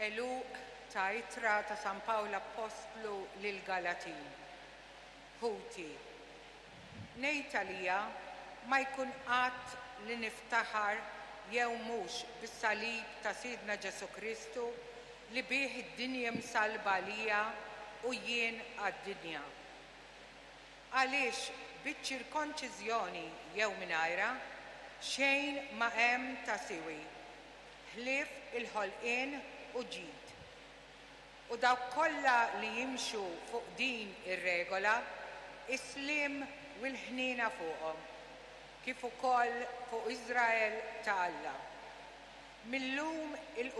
Għeluq ta' Ittra ta' San Pawl Appostlu lill-Galatin. Ħuti, ngħid għalija ma jkun qatt li niftaħar jew mhux bis-salib ta' Sidna Ġesù Kristu li bih id-dinja msallba għalija u jien għad-dinja. Għaliex biċ-ċirkonċiżjoni jew mingħajrha, xejn ma hemm ta' siwi, ħlief il-ħolqien u ġid. U dawk kollha li jimxu fuq din ir-regola, is-sliem u l-ħniena fuqhom, kif ukoll fuq Iżrael ta' Alla. Mil-lum 'il.